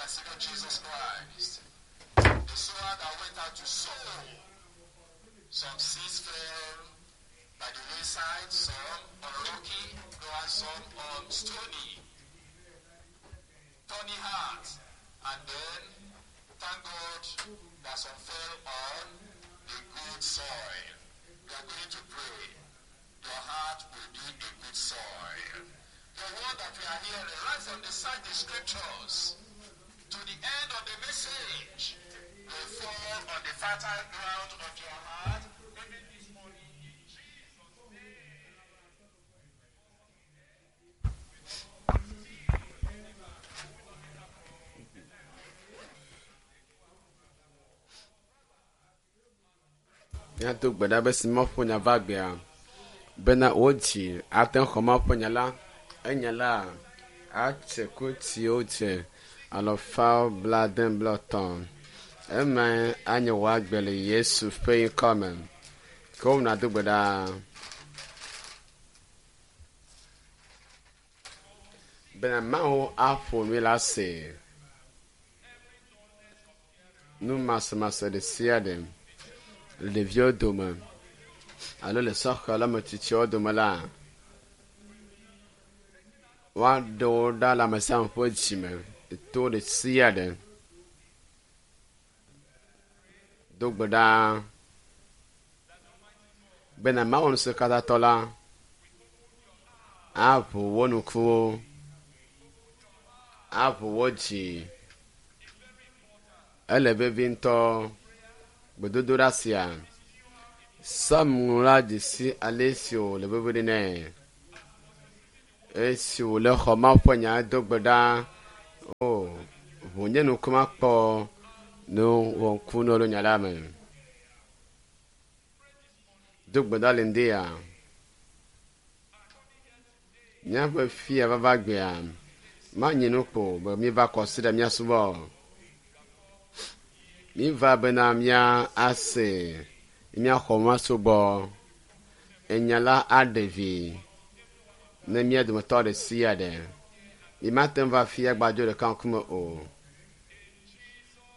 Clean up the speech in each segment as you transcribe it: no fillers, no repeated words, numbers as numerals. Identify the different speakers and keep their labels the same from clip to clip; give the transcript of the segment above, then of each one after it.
Speaker 1: and Savior Jesus Christ. The sower that went out to sow, some seeds fell by the wayside, some on rocky ground, some on stony, thorny heart. And then, thank God that some fell on the good soil. We are going to pray. Your heart will be a good soil. The word that we are hearing right from the side the scriptures to the end of the message will fall on the fertile ground of your heart even this morning in Jesus' name.
Speaker 2: Míado gbe ɖa be si Mawu ƒe nya va gbea bena wò dzi ate ŋu xɔ Mawu ƒe nya la. Enya la atse ku siwo dze alafa blaade blaetɔ̃. Emae anye wò agbe le Yesu ƒe ŋkɔ me. Ke wo nàdo gbe ɖa. Bena Mawu aƒo nui la se. Numasemase ɖe sia ɖe le ɖeviwo dome alo le sɔhɛ le ame tsitsiwo dome la, woaɖe wo ɖa le ame sia ame ƒe dzime to ɖe sia ɖe. Do gbe ɖa bena Mawu Ŋusẽkatãtɔ la aʋu wo ŋkuwo, aʋu wo dzi. Ele vevi ŋutɔ gbedodoɖa sia. Psalm la dze si ale si wòle vevi ɖe nɛ. Esi wòle xɔ Mawu ƒe nya do gbe ɖa, o ʋu nye ŋku makpɔ nu wɔŋkunuwo le nya la me. Do gbe ɖa le ŋdi ya. Míaƒe fia vava gbea manye nu kpo be míeva kɔsiɖa míasubɔ o. Míva bena mía ase míaxɔ masubɔ. Enya la aɖe vi ne mía dometɔ ɖe sia ɖe. Mímate ŋu va fia gbadzo ɖeka ŋkume o.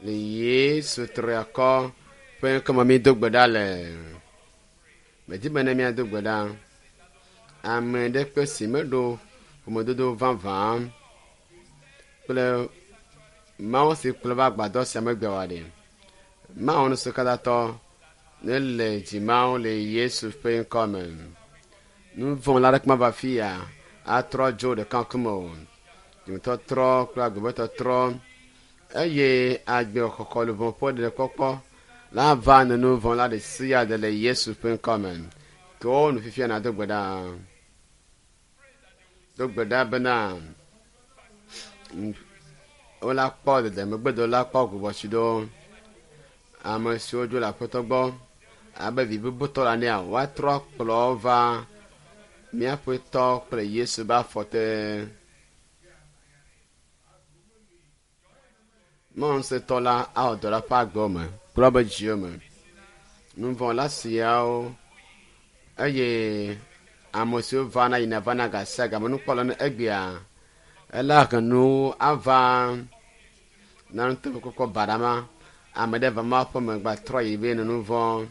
Speaker 2: Le Yesu triakɔ ƒe ŋkume mído gbe ɖa le. Medi be ne míado gbe ɖa. Ame ɖe kpe si meɖo ƒomedodo vavã kple Mawu si kplɔ va agbadɔ sia megbe wa ɖe. Mawu Ŋusẽkatãtɔ ne le dzimawo le Yesu ƒe ŋkɔ me. Nu vɔ̃ la ɖeke mava fi ya atrɔ dzo ɖeka ŋkume o. Dzimetɔtrɔ kple agbebetɔtrɔ eye agbe xɔxɔ luʋɔ ƒe ɖeɖekpɔkpɔ la va ne nu vɔ̃ la ɖe sia ɖe le Yesu ƒe ŋkɔ me. Ke wo nu fifia nàdo gbe ɖa. Do gbe ɖa bena wola kpɔ ɖeɖe megbedo la kpɔ gbugbɔtsi ɖo. Ame siwo dzo le aƒetɔ gbɔ abe vi bubutɔ la nea woatrɔ kplɔ va míaƒetɔ kple Yesu be afɔ te. Mawu ŋusẽtɔ la awɔ dɔ le eƒe agbewo me kple woƒe dziwo me. Nuvɔ̃la siawo eye ame siwo vana yina vana gasia game nukpɔla ne egbea ela he nu ava na nuteƒekpɔkpɔ baɖa ma. Ame ɖe va Mawu ƒe me gba trɔ yi be nu vɔ̃.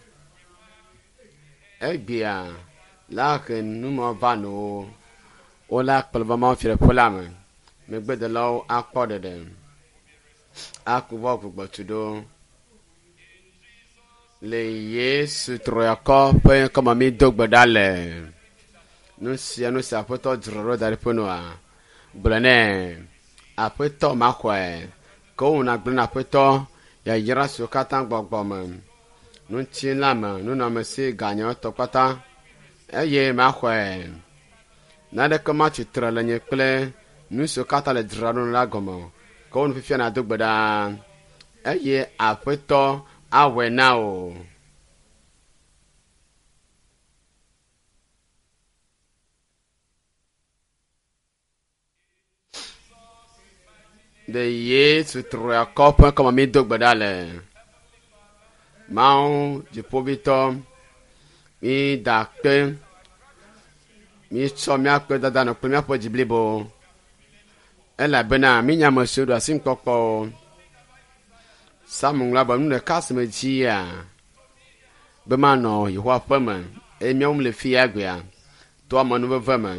Speaker 2: Egbea la he nu ma va no wola kplɔ va Mawu fiaɖuƒe la me. Megbedelawo akpɔ ɖeɖe. Aku va gbugbɔtu ɖo. Le Yesu triakɔ ƒe ŋkɔme mi do gbe ɖa le. Nu sia nu si aƒetɔ dzra ɖo da ɖe ƒe nua. Gblɔ nɛ aƒetɔ maxɔe. Ke wo nàgblɔ na aƒetɔ yayra siwo katã gbɔgbɔ me. Ŋutilã me, nunɔamesi ganyawo tɔ kpata eye maxɔe. Naneke matsi tre le nye kple nu siwo katã le dzra ɖo la gɔme o. Ke wo nu fifia nàdo gbe ɖa eye aƒetɔ awɔe na wò. Le Yesu triakɔ ƒe ŋkɔme mi do gbe ɖa le. Mawu dziƒovitɔ, mi da akpe, mi tsɔ míaƒe dada nɔ kple míaƒe dzi blibo. Elabena mi nya ame siwo ɖo asi nukpɔkpɔ o. Psalm ŋlɔ be nu ɖeka si me dzia be manɔ Yehowa ƒe me eye míawo le fi ya gbea to amenuveve me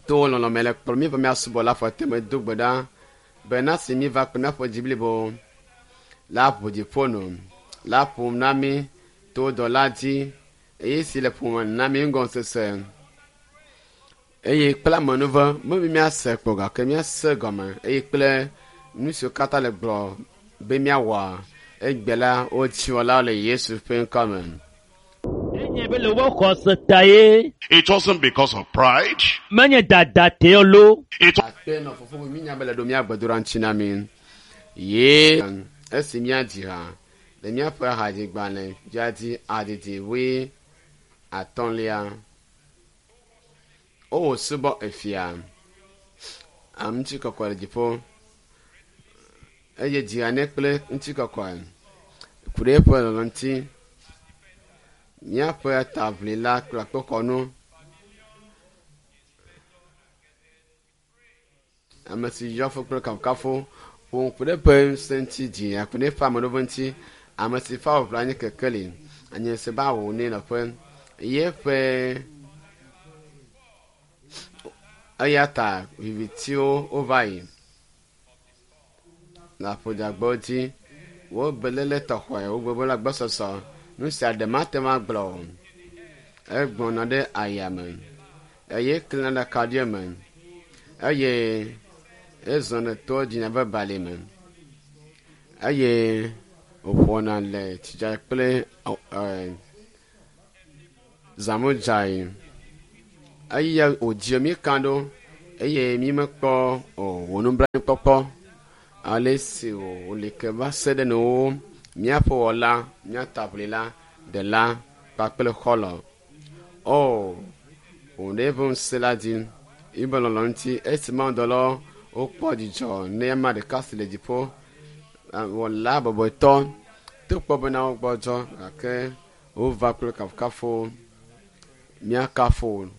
Speaker 2: to lɔlɔme le kplɔ mi va míasubɔ le afɔte me do gbe ɖa be na si mi va kple míaƒe dzi blibo la ʋu dziƒo nu la ƒom na mi to dɔla dzi eye si le ƒome na mi ŋgɔsese eye kple amenuve mebi míase kpɔ gake míase gɔme eye kple nu siwo katã le gblɔ be míawɔ egbe la wodziwɔlawo le Yesu ƒe ŋkɔ me.
Speaker 3: Enye be le woƒe xɔse ta ye.
Speaker 1: It wasn't because of pride.
Speaker 3: Menye dada te lo.
Speaker 1: It
Speaker 2: Akpe nɔ fofo be mínya be le ɖo míagbedoɖa ŋuti na mi. Ye esi míadzi ha le míaƒe hadzigbalẽ dzadzi adidi wui atɔ̃lia. Wowò subɔ efia. Ŋutikɔkɔe le dziƒo. Eye dzi ha nɛ kple ŋutikɔkɔe. Ku ɖe eƒe lɔlɔ̃ ŋuti. Míaƒe taʋlila kple akpoxɔnu. Ame si yɔ fo kple kafukafu ƒo ŋku ɖe eƒe ŋusẽ ŋuti dzi aku ɖe eƒe ameɖoƒe ŋuti. Ame si fa wòʋla nye kekeli. Anye se ba wò nɛ nɔƒe. Ye ƒe eya ta vivitiwo wova yi le aƒodzagbewo dzi. Wo beléle tɔxɔe, wo gbegbe le agbɔsɔsɔ. Nu sia ɖe mate ŋu agblɔ o. Egbɔna ɖe ayame eye klẽna ɖe akaɖi me eye ezɔna to dzina ƒe bali me eye wòƒona le tsidza kple zãmudzayi. Eya wòdzi mí ka ɖo eye mí mekpɔ o wò nublanuikpɔkpɔ ale si wòli ke va se ɖe nuwo míaƒe wɔla, mía taʋlila, ɖela kpakple xɔlɔ̃. O, wò ɖe eƒe ŋusẽ la dzi, yibe lɔlɔ̃ ŋuti esi mawudɔlawo wokpɔ dzidzɔ ne ame ɖeka si le dziƒo wɔla bɔbɔetɔ to kpɔ bena wogbɔdzɔ gake wova kple kafukafu míakafo.